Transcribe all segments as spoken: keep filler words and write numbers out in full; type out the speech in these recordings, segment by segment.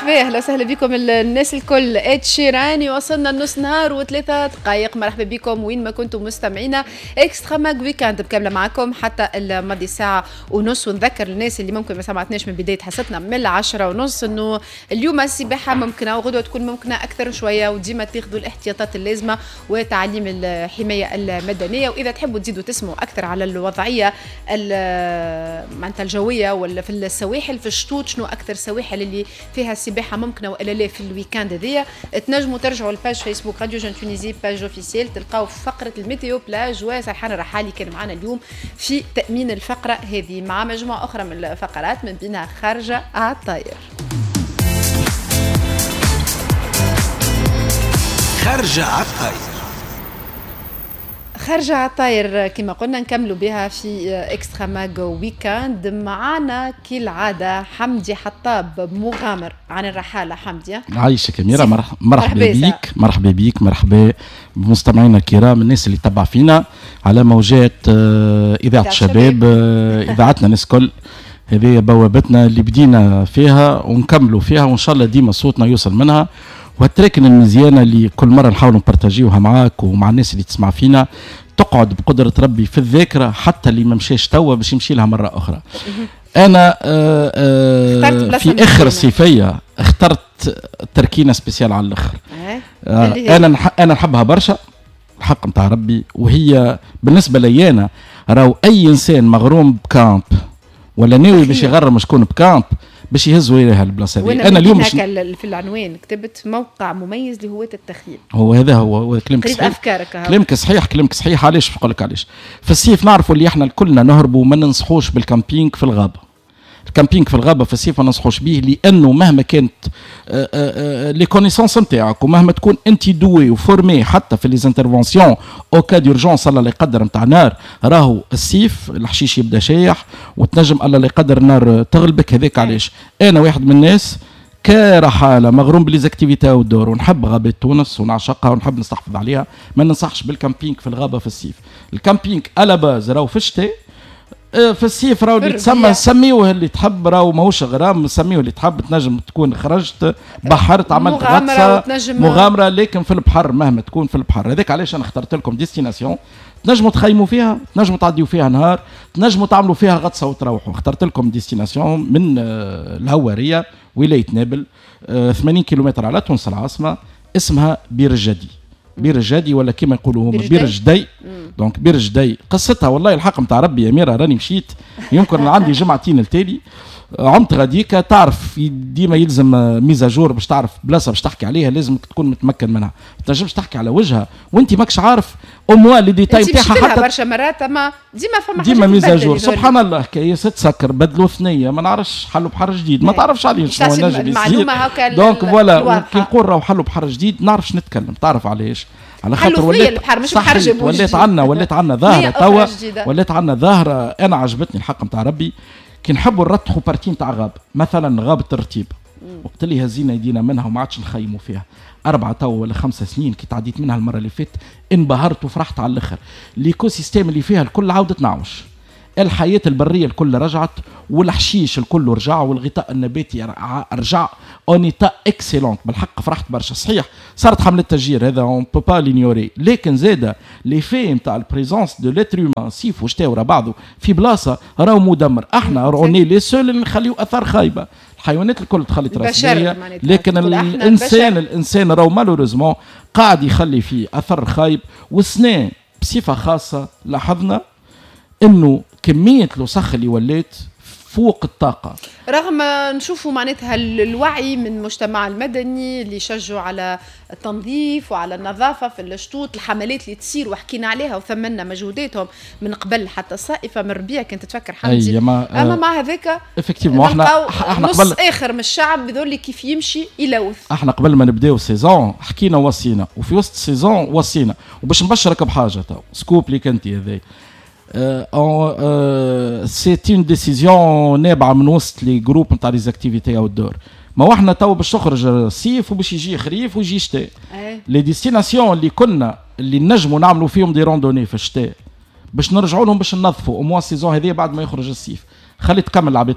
مرحبا، اهلا وسهلا بكم الناس الكل. اتشيراني وصلنا لنص نهار وثلاثة دقائق. مرحبا بكم وين ما كنتم مستمعينا. Extra Mag Weekend بكامله معكم حتى الماضي ساعة ونص. ونذكر الناس اللي ممكن ما سمعتناش من بداية حصتنا من العشرة ونص انه اليوم السباحة ممكنة وغدوه تكون ممكنة اكثر شويه، وديما تاخذوا الاحتياطات اللازمة وتعليم الحماية المدنيه. واذا تحبوا تزيدوا تسمعوا اكثر على الوضعية معناتها الجوية ولا في السواحل في الشطوط، شنو اكثر سواحل اللي فيها السباحة ممكنة والا لا في ال week-end هذيا، تنجموا ترجعوا ل page Facebook Radio Jeune Tunisie page officielle، تلقاو فقره ال météo plage وسرحان الرحالي كان معنا اليوم في تامين الفقرة هذه مع مجموعة اخرى من الفقرات من بينها خارجه على الطاير. خارجه على الطاير، خارجة على الطاير كما قلنا نكملوا بها في Extra Mag Weekend. معانا كالعادة حمدي حطاب مغامر عن الرحالة. حمدي عايشك أميرة، مرحبا بيك، مرحبا بيك، مرحبا بمستمعينا الكرام، الناس اللي تبع فينا على موجات إذاعة الشباب، إذاعتنا الناس الكل. هذه بوابتنا اللي بدينا فيها ونكملوا فيها، وإن شاء الله ديما صوتنا يوصل منها. وهالتراكن المزيانه اللي كل مرة نحاولوا نبارتاجيوها معاك ومع الناس اللي تسمع فينا تقعد بقدره ربي في الذاكرة، حتى اللي ما مشاش توا باش يمشي لها مرة اخرى. انا آآ آآ في اخر الصيفية اخترت تركينه spéciale على الاخر. آه انا انا نحبها برشا الحق نتاع ربي، وهي بالنسبة لي انا راهو اي انسان مغروم ب camp ولا ناوي باش يغرم شكون ب camp باش يهزوا اليها البلاصة هذه. انا اليوم مش في العنوان كتبت موقع مميز لهواة التخييم. هو هذا هو كلامك صحيح، افكارك كلامك صحيح، كلامك صحيح. علاش نقول لك علاش؟ في الصيف نعرفوا اللي احنا كلنا نهربوا وما ننصحوش بال camping في الغابة. ال camping في الغابة في الصيف ما ننصحوش به، لانه مهما كانت les connaissances نتاعك ومهما تكون انت doué و formé حتى في les interventions en cas d'urgence الله لا يقدر نتاع نار، راهو الصيف الحشيش يبدا شايح وتنجم الله لا يقدر النار تغلبك. هذاك علاش انا واحد من الناس كرحاله مغروم ب les activités outdoor ونحب غابه تونس ونعشقها ونحب نستحفظ عليها، ما ننصحش بال camping في الغابة في الصيف. ال camping à la base راهو في الشتاء، في الصيف راهو اللي تسمى سميوه اللي تحب، راهو ماهوش غرام، سميوه اللي تحب. تنجم تكون خرجت بحرت عملت غطسه مغامرة، لكن في البحر مهما تكون في البحر. هذاك علاش انا اخترت لكم destination تنجموا تخيموا فيها، تنجموا تعديوا فيها نهار، تنجموا تعملوا فيها غطسه وتروحوا. اخترت لكم destination من الهواريه ولاية نابل، ثمانين كيلومتر على تونس العاصمة، اسمها بير الجدي. بير الجدي ولا كما يقولوا هما بير الجدي. donc بير الجدي قصتها والله الحق نتاع ربي يا ميرا، راني مشيت يمكن عندي جمعتين التالي عمت غاديكا. تعرف ديما يلزم mise à jour باش تعرف بلاصة باش تحكي عليها، لازم تكون متمكن منها، ما تنجمش تحكي على وجهها وانت ماكش عارف au moins les détails نتاعها. حتى برشا مرات اما ديما فما ديما mise à jour. سبحان الله كياس تسكر بدلوا ثنيه ما نعرفش حلوا بحر جديد، ما تعرفش عليه شنو نجم يصير. donc voilà كي نقول راهو حلوا بحر جديد نعرفش نتكلم، تعرف علاش؟ على خاطر ولات البحر مش بحر جديد، ولات عندنا ولات عندنا ظاهره توا، ولات عندنا ظاهره انا عجبتني الحق نتاع ربي. كي نحبوا نرتحوا partie نتاع غاب، مثلا غابه الرتيب، وقت اللي هزينا يدينا منها وما عادش نخيموا فيها أربعة تو ولا خمسة سنين، كي تعديت منها المرة اللي فاتت انبهرت وفرحت على الآخر. l'écosystème اللي فيها الكل عاودت نعوش، الحياة البرية الكل رجعت، والحشيش الكل رجع، والغطاء النباتي رجع en état excellent. بالحق فرحت برشا. صحيح صارت حملة تشجير، هذا on peut pas l'ignorer، لكن زاده l'effet نتاع ال présence de l'être humain صيف وشتاء ورا بعضه في بلاصة راهو مدمر. احنا on est les seuls اللي نخليو اثار خايبة، الحيوانات الكل تخلي تراث، لكن الانسان الانسان راهو malheureusement قاعد يخلي فيه اثر خايب. والسنة بصفة خاصة لاحظنا انه كمية الوسخ اللي ولات فوق الطاقة، رغم نشوفوا معناتها الوعي من المجتمع المدني اللي شجوا على التنظيف وعلى النظافة في الشطوط، الحملات اللي تصير وحكينا عليها وثمنا مجهوداتهم من قبل حتى الصائفة من ربيع كنت تفكر حمدي. ما اما مع هذاك effectivement احنا احنا نص قبل اخر من الشعب بذول كيف يمشي يلوث. احنا قبل ما نبداو saison حكينا وصينا، وفي وسط saison وصينا. وباش نبشرك بحاجة تو scoop ليك انت هذاك، c'est une décision نابعة من وسط les groupes نتاع les activités outdoor. ما احنا تو باش تخرج الصيف وباش يجي خريف ويجي شتاء، les destinations اللي كنا اللي نجموا نعملوا فيهم des randonnées في الشتاء باش نرجعوا لهم باش ننظفوا au moins saison هذه بعد ما يخرج الصيف. خلي تكمل العباد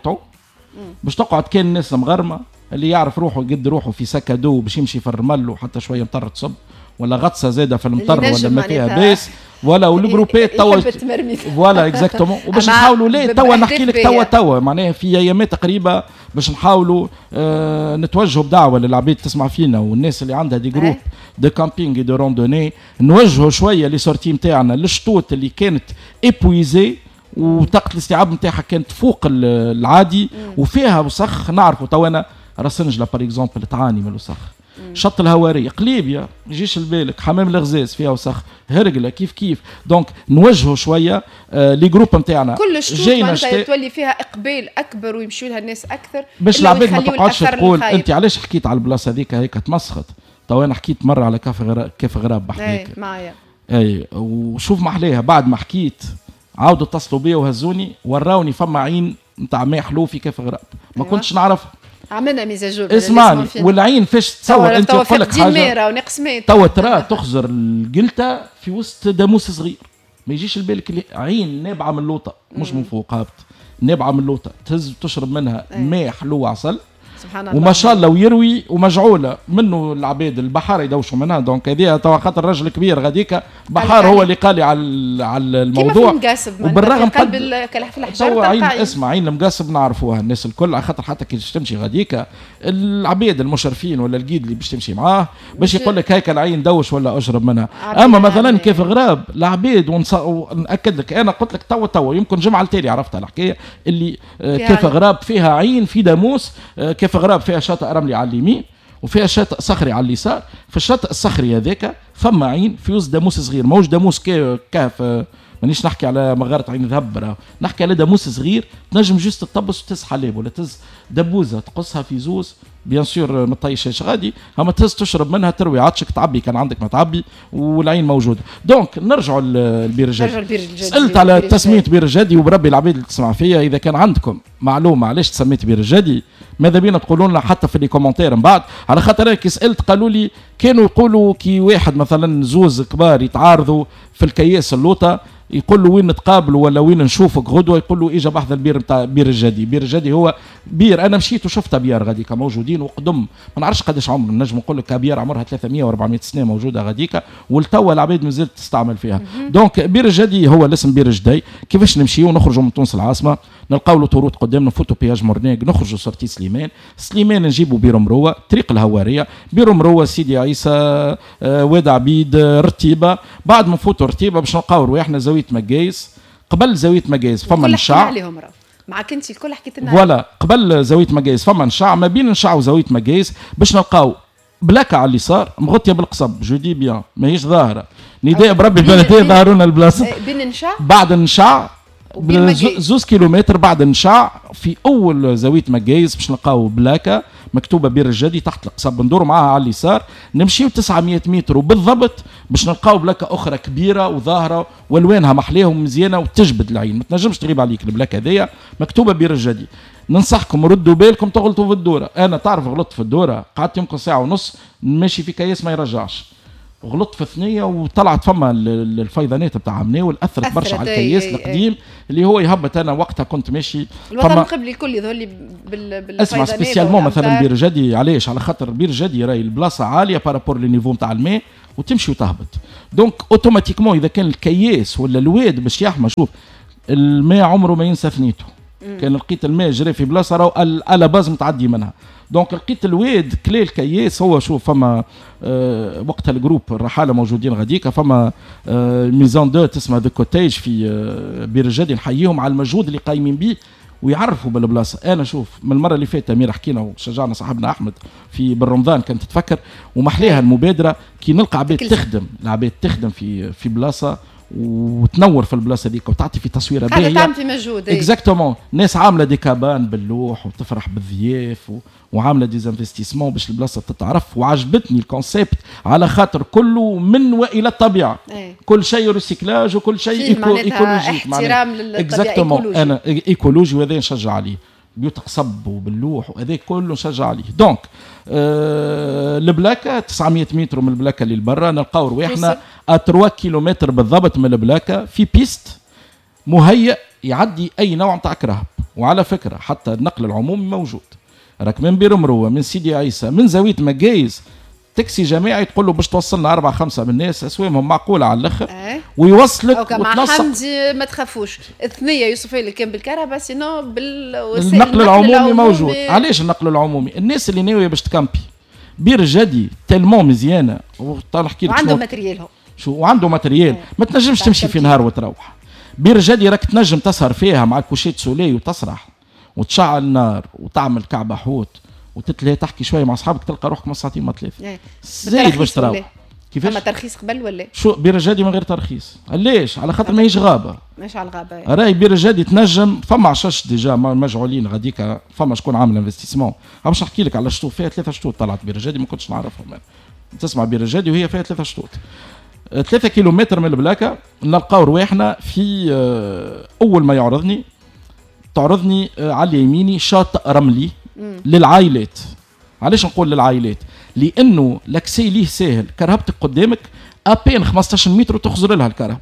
باش تقعد كان الناس مغرمه اللي يعرف روحه يقد روحه في sac à dos باش يمشي في الرمل وحتى شوية مطر تصب ولا غطسه زاده في المطر ولا ما فيها باس ولا وال groupات توا voilà exactement. وباش نحاولوا لا توا نحكي لك توا توا معناها في ايامات قريبه باش نحاولوا آه نتوجهوا بدعوة للعباد تسمع فينا والناس اللي عندها des groupes de camping de randonnée، نوجهوا شوية les sorties نتاعنا للشطوط اللي كانت épuisées وطاقة الاستيعاب نتاعها كانت فوق العادي وفيها وسخ. نعرفوا تو انا راسنجله par exemple تعاني من الوسخ، شط الهواريه، قليبيا يجيش البالك، حمام الغزاز فيها وسخ، هرقله كيف كيف. donc نوجهوا شوية آه les groupes نتاعنا كل الشطوط معناتها تولي فيها اقبال اكبر ويمشوا لها الناس اكثر باش العباد ما تقعدش تقول انت علاش حكيت على البلاصة هذيك هيك تمسخت. تو انا حكيت مرة على كاف غراب، كاف غراب بحكيك معايا اي وشوف محليها. بعد ما حكيت عاودوا اتصلوا بيا وهزوني وراوني فما عين نتاع ماء حلو في كاف غراب ما أيوة. كنتش نعرفها. عملنا mise à jour. اسمعني والعين فاش تصور انت نقول لك حاجة ونقص ماء توا ترى تخزر القلته في وسط داموس صغير ما يجيش لبالك اللي عين نابعة من اللوطه مش من فوق هابط، نابعة من اللوطه تهز تشرب منها ماء حلو عسل سبحان الله وما شاء الله ويروي ومجعوله منه العباد البحار يدوشوا منها. donc هذه توا خاطر الرجل كبير غاديك بحار هو اللي قال لي على على الموضوع. وبالرغم قلب في الحجر عين اسمع عين المقاسب نعرفوها الناس الكل على خاطر حتى كي تمشي غاديك العباد المشرفين ولا ال guide اللي باش تمشي معاه باش يقول لك هيك العين دوش ولا اشرب منها. اما مثلا كيف غراب العباد ونأكد لك انا قلت لك توا توا يمكن جمعه التالي عرفتها الحكاية اللي كيف غراب فيها عين في داموس، كيف غراب فيها شاطئ رملي على اليمين وفيها شاطئ صخري على اليسار. في الشاطئ الصخري هذاك فما عين في وسط داموس صغير، ماهوش داموس كهف، مانيش نحكي على مغارة عين ذهب، نحكي على داموس صغير تنجم juste تطبس وتهز حليب ولا تهز دبوزه تقصها في زوز bien sûr ما تطيشش غادي، اما تهز تشرب منها تروي عطشك تعبي كان عندك ما تعبي والعين موجودة. donc نرجعوا للبير الجدي. سالت على تسميه بير الجدي وبربي العباد اللي تسمع فيا اذا كان عندكم معلومة علاش تسميت بير الجدي ماذا بينا تقولوا لنا حتى في les commentaires من بعد، على خاطر كي سالت قالوا لي كانوا يقولوا كي واحد مثلا زوز كبار يتعارضوا في الكياس اللوطه يقول له وين نتقابلوا ولا وين نشوفك غدوه، يقول له اجا بحذا البير نتاع بير الجدي. بير الجدي هو بير انا مشيت وشفت ابيار غاديكا موجودين وقدم ما نعرفش قداش عمر، نجم نقول لك ابيار عمرها ثلاثمية وأربعمية سنة موجودة غاديكا ولتوا العباد مازالت تستعمل فيها. donc بير الجدي هو الاسم بير الجدي. كيفاش نمشيو نخرجوا من تونس العاصمة نلقاو l'autoroute قدامنا نفوتوا péage مرناق نخرجوا sortie سليمان، سليمان نجيبوا بير مروه طريق الهواريه، بير مروه سيدي عيسى آه، واد عبيد آه، رتيبه. بعد ما نفوتوا رتيبه باش نلقاو رواحنا زاوية مقايس. قبل زاوية مقايس فما نشع عليهم راه معاك انت الكل حكيت لنا voilà قبل زاوية مقايس فما نشع، ما بين نشع وزاويه مقايس باش نلقاو plaque على اليسار مغطيه بالقصب je dis bien ماهيش ظاهره نداء بربي البلدية ظهروا لنا البلاصة بين نشع بعد نشع زوز كيلومتر بعد نشع في اول زاوية مقايس باش نلقاو plaque مكتوبة بير الجدي تحت القصب ندور معاها على اليسار نمشيو تسعمية متر وبالضبط باش نلقاو plaque اخرى كبيرة وظاهره والوانها محليها ومزيانه وتجبد العين ما تنجمش تغيب عليك ال plaque هذيا مكتوبة بير الجدي. ننصحكم ردوا بالكم تغلطوا في الدورة، انا تعرف غلطت في الدورة قعدت يمكن ساعة ونص ماشي في كياس ما يرجعش، غلطت في ثنيه وطلعت فما الفيضانات بتاع عمناول اثرت برشا على الكياس القديم اللي هو يهبط. انا وقتها كنت ماشي الوطن القبلي الكل يظهر لي بال اسمع spécialement مثلا بير جدي علاش؟ على خاطر بير جدي راهي البلاصة عالية par rapport le niveau نتاع الماء وتمشي وتهبط، donc automatiquement اذا كان الكياس ولا الواد باش يحمى، شوف الماء عمره ما ينسى ثنيته، كان لقيت الماء جري في بلاصة راهو à la base متعدي منها، donc لقيت الواد كلي الكياس هو شوف فما آه وقتها ال groupe الرحاله موجودين غاديكا فما آه maison d'hôtes اسمها The Cottage في آه بير الجدي، نحييهم على المجهود اللي قايمين به ويعرفوا بالبلاصه. انا شوف من المرة اللي فاتت امير حكينا وشجعنا صاحبنا احمد في بالرمضان كانت تتفكر ومحليها المبادرة كي نلقى عباد تخدم، العباد تخدم في في بلاصة وتنور في البلاصة ديك وتعطي في تصويره باهيه تعمل في مجهود exactement. ناس عامله des cabanes باللوح وتفرح بالضياف و... وعامله des investissements باش البلاصة تتعرف، وعجبتني ال concept على خاطر كله من والى الطبيعة. ايه. كل شيء recyclage وكل شيء éco écologique احترام للطبيعة écologie. انا écologie وهذا نشجع عليه، بيوت قصب وباللوح وهذا كله نشجع عليه. donc آه ال plaque تسعمية متر من ال plaque اللي لبرا نلقاو رواحنا ثلاثة كيلومتر بالضبط من ال plaque في piste مهيأ يعدي اي نوع نتاع كرهب. وعلى فكرة حتى النقل العمومي موجود، راك من بير مروه، من سيدي عيسى، من زاوية مقايز، تاكسي جماعي تقول له باش توصلنا أربعة خمسة من الناس، أسوامهم معقولة على الآخر. أه. ويوصلك. مع حمدي ما تخافوش، الثنية يوصفها لك كان بالكرهبة، sinon بالوسائل النقل العمومي, العمومي موجود. علاش النقل العمومي؟ الناس اللي ناوية باش تكامبي بير جدي tellement مزيانة، نحكي لك وعنده matériel هو شو وعنده matériel، ما تنجمش تمشي في نهار وتروح. بير جدي راك تنجم تسهر فيها مع coucher de soleil وتسرح وتشعل النار وتعمل كعبة حوت وتتلهي تحكي شوية مع اصحابك، تلقى روحك ما ساعتين ما ثلاثة زايد باش تروح. كيفاش؟ فما ترخيص قبل ولا؟ شو بير الجدي من غير ترخيص، علاش؟ على خاطر ماهيش غابه. ماهيش على الغابة. راهي بير الجدي تنجم، فما عشش déjà مجعولين غاديك، فما شكون عامل investissement. باش نحكي لك على شطوط فيها ثلاثة شطوط طلعت بير الجدي ما كنتش نعرفهم انا. تسمع بير الجدي وهي فيها ثلاثة شطوط. ثلاثة كيلومتر من البلاكه نلقاو رواحنا في اول ما يعرضني تعرضني على يميني شاطئ رملي للعائلات. علاش نقول للعائلات؟ لانه l'accès ليه ساهل، كرهبتك قدامك à peine خمسطاش متر وتخزر لها الكرهب،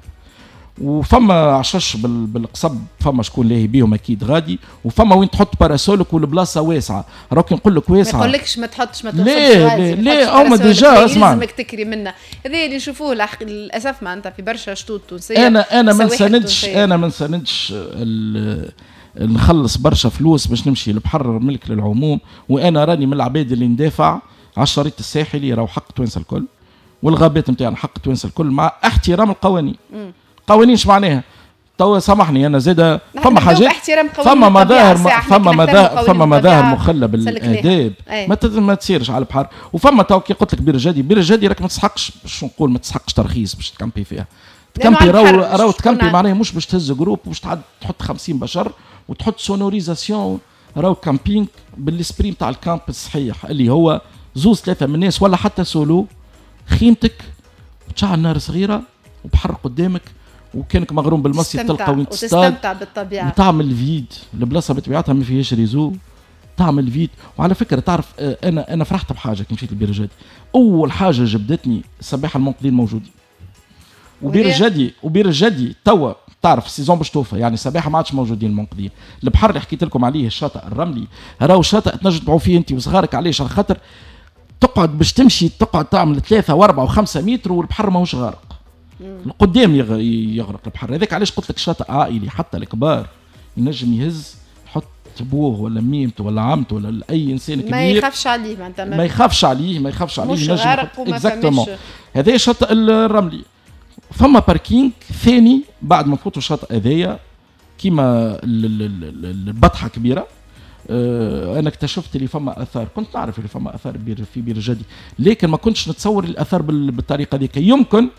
وفما عشش بالقصب، فما شكون لاهي بيهم اكيد غادي، وفما وين تحط parasol ك والبلاصه واسعة. راك نقول لك واسعة، ما يقولكش ما تحطش ما توصلش. ليه ليه ليه هما déjà اسمع لازمك تكري منا. هذا اللي نشوفوه للاسف معناتها في برشا شطوط تونسية. انا انا ما نساندش انا ما نساندش نخلص برشا فلوس باش نمشي البحر ملك للعموم، وانا راني من العباد اللي ندافع على الشريط الساحلي، راهو حق توانسة الكل، والغابات نتاعنا حق توانسة الكل، مع احترام القوانين. قوانين ايش معناها؟ توا سامحني انا زاده فما حاجات، فما مظاهر، فما مظاهر، فما مظاهر مخله بالاداب ما ما تصيرش على البحر. وفما تو كي قلت لك بير الجدي، بير الجدي راك ما تسحقش، باش نقول ما تسحقش ترخيص باش تكامبي فيها. تكامبي راهو راهو تكامبي معناها مش باش تهز groupe وباش تحط خمسين بشر وتحط sonorisation. راهو camping بال esprit نتاع ال camp الصحيح اللي هو زوز ثلاثة من الناس ولا حتى سولو، خيمتك وتشعل نار صغيرة وبحر قدامك، وكانك مغروم بالمصيد تلقى وين تصطاد وتستمتع بالطبيعة وتعمل vide. البلاصة بطبيعتها ما فيهاش réseau، تعمل vide. وعلى فكرة تعرف انا انا فرحت بحاجة كي مشيت لبير الجدي. اول حاجة جبدتني السباحة المنقذين موجودين، وبير الجدي وبير الجدي توا تعرف ال saison باش توفى، يعني السباحة ما عادش موجودين المنقذين. البحر اللي حكيت لكم عليه الشاطئ الرملي راهو شاطئ تنجم تعوم فيه انت وصغارك. علاش؟ على خاطر تقعد باش تمشي تقعد تعمل ثلاثة وأربعة وخمسة متر والبحر ماهوش غارق، القدام يغرق البحر. هذاك علاش قلت لك شاطئ عائلي، حتى الكبار ينجم يهز يحط بوه ولا ميمته ولا عمته ولا اي انسان كبير ما يخافش عليه، معناتها ما يخافش عليه ما يخافش عليه مش غارق وما exactement. هذا شاطئ الرملي. فما parking ثاني بعد ما نفوتوا الشاطئ هذايا كيما البطحه كبيرة. انا اكتشفت اللي فما اثار، كنت نعرف اللي فما اثار بير في بير الجدي، لكن ما كنتش نتصور الاثار بالطريقة هذيك. يمكن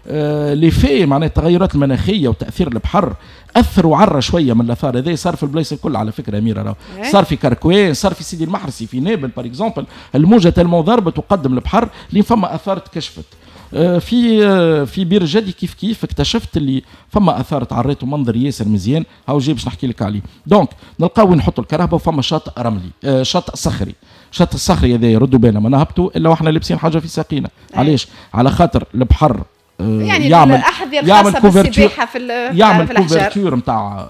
آه les effets معناها التغيرات المناخية وتاثير البحر اثروا عرى شوية من الاثار. هذا صار في البلايص الكل على فكرة اميره، راهو صار في كركوان، صار في سيدي المحرسي، في نابل par exemple، الموجه tellement ضربت وقدم البحر لين فما اثار تكشفت. آه في آه في بير الجدي كيف كيف اكتشفت اللي فما اثار تعريت ومنظر ياسر مزيان، هاو جاي باش نحكي لك عليه. donc نلقاو وين نحطوا الكرهبه، وفما شاطئ رملي، آه شاطئ صخري. شاطئ الصخري هذا يردوا بالنا ما نهبطوا الا واحنا لابسين حاجة في ساقينا. علاش؟ على خاطر البحر يعني يعمل الاحذية يعمل الخاصة بالسباحه في يعمل في الأحجار، couverture نتاع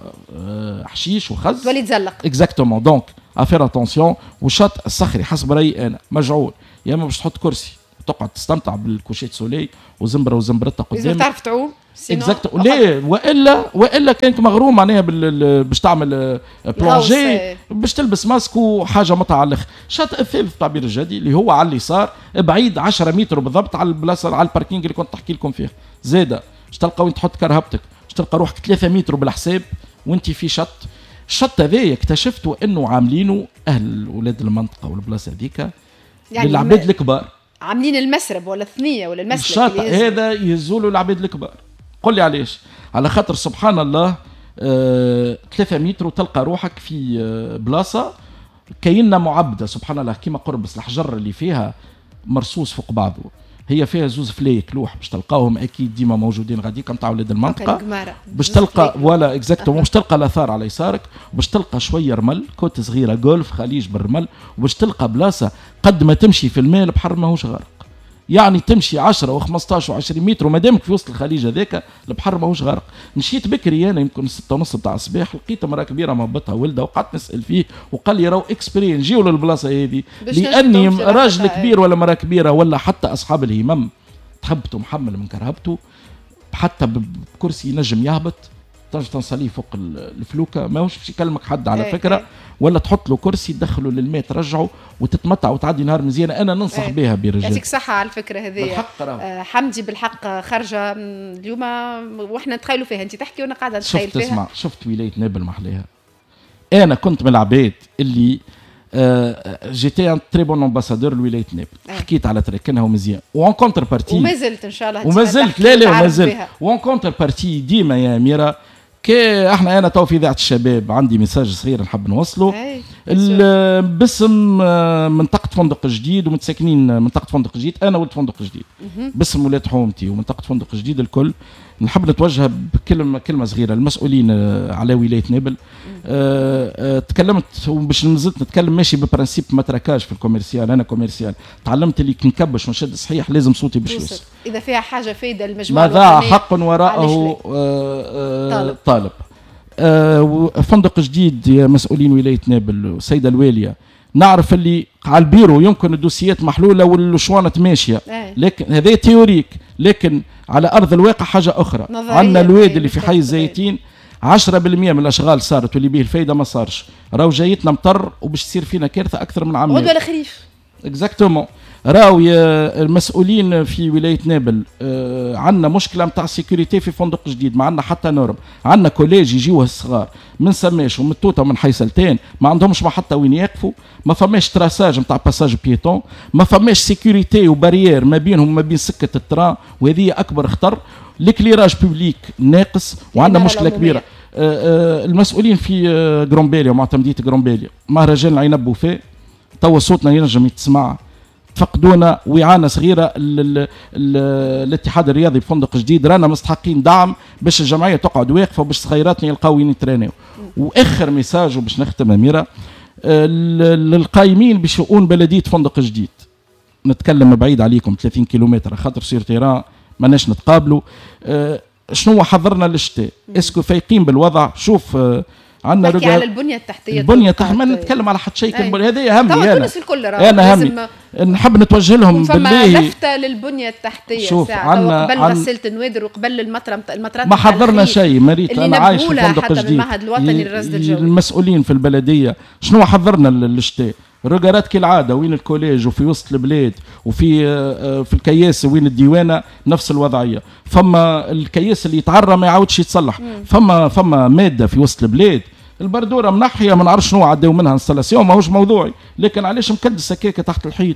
حشيش وخز تولي تزلق. exactement. donc à faire attention. والشاطئ الصخري حسب رايي انا مجعول، يا اما باش تحط كرسي تقعد تستمتع بال coucher de soleil وزمبره وزمبرتها قدامك، لازم تعرف تعوم exact. لا والا والا كانك مغروم معناها باش تعمل plongée، باش تلبس ماسك وحاجه متعه على الاخر. الشاطئ الثالث تاع بير الجدي اللي هو على اليسار بعيد عشرة متر بالضبط على البلاصة على ال parking اللي كنت تحكي لكم فيه، زاده باش تلقى وين تحط كرهبتك، باش تلقى روحك ثلاثة متر بالحساب وانت في شط. الشط هذايا اكتشفته انه عاملينه اهل ولاد المنطقة والبلاصه هذيك يعني للعباد الكبار، عاملين المسرب ولا الثنية ولا المسلك. الشاطئ هذا يهزوا له العباد الكبار. قل لي علاش؟ على خاطر سبحان الله آه، ثلاثة متر وتلقى روحك في آه، بلاصة كاينه معبده سبحان الله، كيما قربص الحجر اللي فيها مرصوص فوق بعضه. هي فيها زوز فليك لوح باش تلقاهم اكيد ديما موجودين غاديك نتاع ولاد المنطقة، باش تلقى ولا exactement باش تلقى الاثار على يسارك، باش تلقى شوية رمل côte صغيرة جولف خليج بالرمل، وباش تلقى بلاصة قد ما تمشي في الماء البحر ماهوش غارق. يعني تمشي عشرة وخمسطاش وعشرين متر وما دامك في وسط الخليج هذاك البحر ماهوش غارق. مشيت بكري انا يمكن ستة ونص بتاع الصباح، لقيت امراة كبيرة مهبطها ولدها وقعدت نسال فيه وقال لي راهو exprès نجيو للبلاصه هذه لاني راجل كبير ولا مراة كبيرة ولا حتى اصحاب الهمم تهبطوا محمل من كرهبته حتى بكرسي ينجم يهبط، تنجم تنصليه فوق الفلوكه ماهوش باش يكلمك حد على ايه فكرة ايه. ولا تحط له كرسي تدخله للماء ترجعه وتتمتع وتعدي نهار مزيان. انا ننصح ايه. بها برجال. يعطيك صحة على الفكرة هذه بالحق. آه حمدي بالحق خرجه اليوم واحنا نتخيلوا فيها، انت تحكي وانا قاعدة نتخيل فيها. شفت اسمع، شفت ولاية نابل محليها. انا كنت من العباد اللي j'étais un très bon ambassadeur لولاية نابل، حكيت على تركنها ومزيان و en contrepartie وما زلت ان شاء الله وما زلت لا لا وما زلت و en contrepartie ديما يا اميره. كي احنا انا تو في اذاعة الشباب عندي message صغير نحب نوصله باسم منطقة فندق جديد ومتساكنين منطقة فندق جديد. انا ولد فندق جديد باسم ولاد حومتي ومنطقة فندق جديد الكل. نحب نتوجه بكلمه كلمة صغيرة للمسؤولين على ولاية نابل. أه أه تكلمت وباش مازلت نتكلم ماشي ب principe matraquage في ال commercial. انا commercial تعلمت اللي كي نكبش ونشد صحيح لازم صوتي باش يوصل. اذا فيها حاجة فايده للمجموعة ما ضاع حق وراءه آه طالب. آه فندق جديد يا مسؤولين ولاية نابل والسيدة الواليه، نعرف اللي على البيرو يمكن الدوسيات محلولة والشوانط ماشية، لكن هذا théorique، لكن على ارض الواقع حاجة اخرى. عندنا الواد اللي في حي الزيتين عشرة بالمية من الاشغال صارت واللي به الفايدة ما صارش. راهو جايتنا مطر وباش تصير فينا كارثة اكثر من عام. غدوه الخريف exactement. راهو يا المسؤولين في ولاية نابل آه عندنا مشكلة نتاع sécurité في فندق جديد، ما عندنا حتى norme. عندنا collège يجيوه الصغار من سماش ومن توته ومن حي سلتان ما عندهمش محطة وين يقفوا، ما فماش traçage نتاع passage piéton، ما فماش sécurité و barrière ما بينهم وما بين سكة ال train، وهذه اكبر خطر. l'éclairage public ناقص وعندنا مشكلة كبيرة. آه آه المسؤولين في آه قرمبالية ومعتمديه قرمبالية مهرجان العنب وفاء توا صوتنا ينجم يتسمع، تفقدونا وإعانة صغيرة الاتحاد الرياضي بفندق جديد. رانا مستحقين دعم باش الجمعية تقعد واقفة وباش صغيراتنا يلقاو وين يترينيو. وآخر message وباش نختم أميرة للقايمين بشؤون بلدية فندق جديد، نتكلم بعيد عليكم ثلاثين كيلومتر خاطر sur terrain ماناش نتقابلوا. شنو حضرنا للشتاء؟ est-ce que فايقين بالوضع؟ شوف عندنا نحكي على البنية التحتية. البنية التحتية ما نتكلم على حتى شيء، هذا همي انا. الكل انا همي نحب نتوجه لهم بالله. لفته للبنيه التحتية. شوف عندنا قبل غسالة النوادر وقبل المطره المطرات ما حضرنا شيء. مريت انا عايش في فندق جديد. المعهد الوطني للرصد الجوي المسؤولين في البلدية شنو حضرنا للشتاء؟ regard ات كالعادة وين ال collège وفي وسط البلاد وفي في الكياس وين الديوانه نفس الوضعية. فما الكياس اللي يتعرى ما يعاودش يتصلح. فما فما مادة في وسط البلاد البردوره منحيه ما نعرفش شنو عداو منها installation ماهوش موضوعي، لكن علاش مكدس هكاك تحت الحيط؟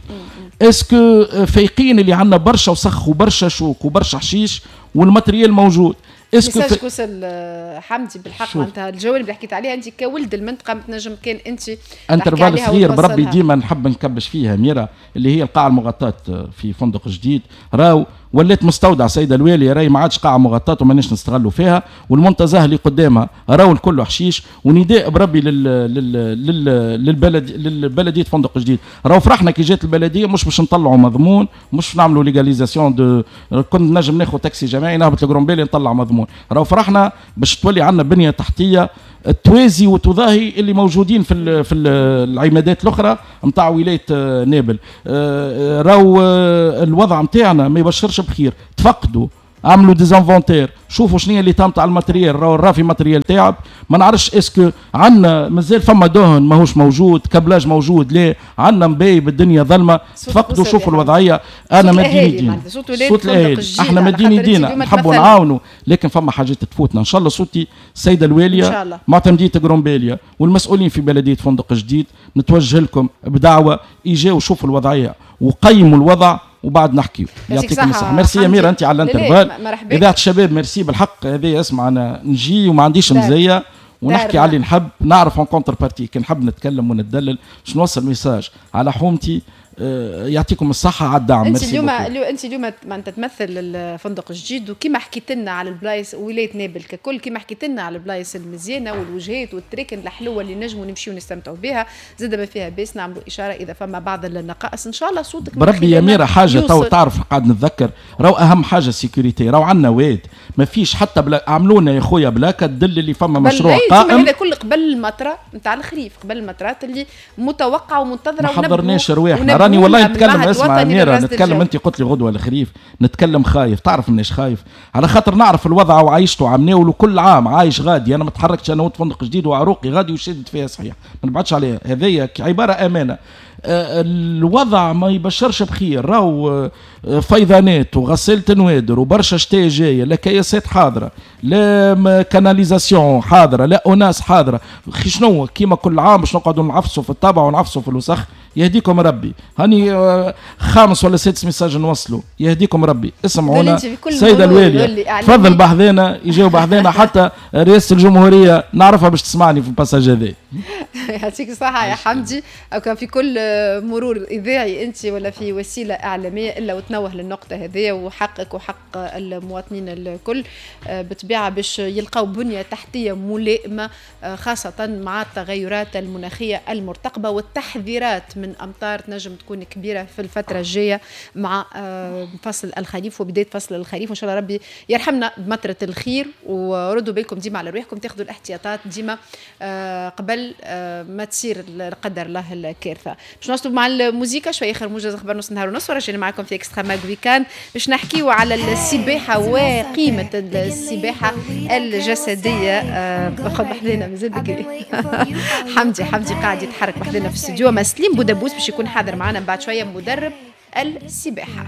est-ce que فايقين اللي عندنا برشا وسخ وبرشا شوك وبرشا حشيش وال matériel موجود؟ est-ce que message وصل حمدي بالحق. معناتها الجوانب اللي حكيت عليها انت كولد المنطقة ما تنجم كان انت intervalle صغير بربي ديما نحب نكبش فيها ميرا اللي هي القاعة المغطاه في فندق جديد. راهو ولات مستودع سيده الواليه، راهي ما عادش قاعة مغطاة وماناش نستغلوا فيها، والمنتزه اللي قدامها راهو الكل حشيش. ونداء بربي لل لل لل للبلد للبلديه فندق جديد، راهو فرحنا كي جات البلدية مش باش نطلعوا مضمون، مش نعملوا légalisation de كنت نجم ناخذ تاكسي جماعي نهبط لقرمبالية نطلع مضمون. راهو فرحنا باش تولي عندنا بنيه تحتيه توازي وتضاهي اللي موجودين في ال في ال العمادات الاخرى نتاع ولاية نابل. راهو الوضع نتاعنا ما يبشرش بخير. تفقدوا، عملوا des inventaires، شوفوا شنو هي اللي تاع ال matériel. راهو الرافي matériel تعب، ما نعرفش est-ce que عندنا مازال فما دهن ماهوش موجود، câblage موجود لا، عندنا مبايب الدنيا ظلمه. تفقدوا شوفوا الوضعية. انا مديني دينا صوت الاهالي، احنا مديني دينا نحبوا نعاونوا، لكن فما حاجات تفوتنا. ان شاء الله صوتي السيدة الواليه معتمديه قرمبالية والمسؤولين في بلديه فندق جديد نتوجه لكم بدعوة اجاو شوفوا الوضعية وقيموا الوضع وبعد نحكيو. يعطيكم الصحة. ميرسي يا ميرا انت على ال intervalle. اذاعة الشباب ميرسي بالحق. هذه اسمع انا نجي وما عنديش مزية ونحكي على اللي نحب نعرف en contrepartie كي نحب نتكلم ونتدلل باش نوصل message على حومتي. آه، يعطيكم الصحة على الدعم. انت اليوم انت اليوم معناتها تمثل الفندق الجديد، وكما حكيت لنا على البلايص ولاية نابل ككل، كما حكيت لنا على البلايص المزيانه والوجهات والتراكن الحلوة اللي نجموا نمشيو نستمتعوا بها، زاد ما فيها باس نعملوا اشارة اذا فما بعض النقائص. ان شاء الله صوتك بربي يا ميرا حاجة تو تعرف قاعد نتذكر، راهو اهم حاجة sécurité، راهو عندنا واد ما فيش حتى بلا، عملونا يا خويا plaque تدل اللي فما مشروع قائم. هذا كل قبل المطره نتاع الخريف، قبل المطرات اللي متوقعه ومنتظره. ما حضرناش رواحنا، راني والله نتكلم، اسمع اميره نتكلم، انت قلت لي غدوه الخريف، نتكلم خايف، تعرف منيش خايف على خاطر نعرف الوضع وعايشته عمناول وكل عام عايش غادي، انا ما تحركتش انا فندق جديد وعروقي غادي وشدت فيها صحيح، ما نبعدش عليها، هذيا عبارة امانه. الوضع ما يبشرش بخير، راهو فيضانات وغسالة نوادر وبرشا شتاء جاية، لا كياسات حاضره، لا canalisation حاضره، لا ONAS حاضره، شنو كيما كل عام باش نقعدوا نعفسوا في الطابع ونعفسوا في الوسخ. يهديكم ربي، هاني خامس ولا سادس message نوصلوا، يهديكم ربي اسمعونا السيدة الواليه تفضل بحذانا، يجاوب بحذانا حتى رئاسة الجمهورية نعرفها باش تسمعني في ال passage هذا. يعطيك الصحة يا حمدي، او كان في كل مرور اذاعي انت ولا في وسيلة اعلامية الا وتنوه للنقطة هذه، وحقك وحق المواطنين الكل بالطبيعة باش يلقاو بنيه تحتيه ملائمه، خاصة مع التغيرات المناخية المرتقبه والتحذيرات من امطار تنجم تكون كبيرة في الفترة الجاية مع فصل الخريف وبداية فصل الخريف. وان شاء الله ربي يرحمنا بمطره الخير، وردوا بالكم ديما على رواحكم، تاخذوا الاحتياطات ديما قبل ما تصير لا قدر الله الكارثة. باش نوصلوا مع الموسيقى شوية اخر موجز اخبار نص نهار ونص، ورجعنا معكم في Extra Mag Weekend باش نحكيو على السباحة وقيمه السباحة الجسدية. اخذ بحذانا مازال بكري حمدي حمدي قاعد يتحرك بحذانا في الاستوديو، ما سليم بودابوس باش يكون حاضر معنا بعد شوية مدرب السباحة.